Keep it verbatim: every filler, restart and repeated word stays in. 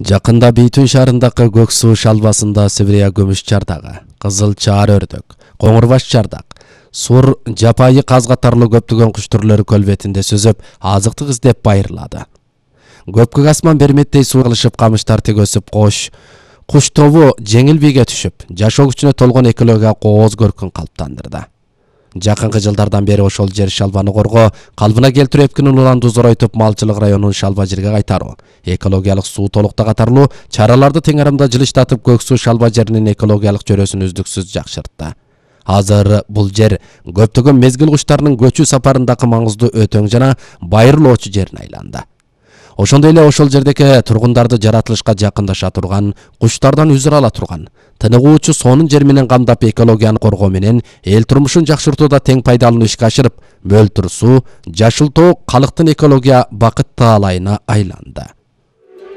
Жакында Бейтун шаарындагы көк суу шалбасында Сибирия көмүш чардагы, кызыл чаар өрдөк, коңур баш чардак, сур, жапайы каз катарлуу көптөгөн куш түрлөрү көл бетинде сүзүп, азыктык издеп байырлады. Көпкөк асман берметтей суу кылышып, камыштар тик өсүп, кош, куш тобу жеңил бийге түшүп, жашоо күчүнө толгон экология кооз көркүн калыптандырды. Жакынкы жылдардан бери ошол жер шалбаны коргоо, калыбына келтирүү эпкинин уланды зоройтуп, малчылык районун шалба жерге кайтаруу, экологиялык суу толукта катарлуу чараларды тең арамда жылыштатып, көк суу шалба жеринин экологиялык чөрөсүн үздүксүз жакшыртты. Азыр бул жер көптөгөн мезгил куштарынын көчүү сапарындагы маңыздуу өтөң жана байырлоочу жерине айланды. Ошондой эле ошол жердеги тургундарды жаратылышка жакындаша турган, куштардан үзүр ала турган, тыныгуучу сонун жер менен камдап, экологияны коргоо менен эл турмушун жакшыртууда тең пайдалануу ишке ашырып, мөлтүр суу, жашыл тоо калктын экология бакыт таалайына айланды.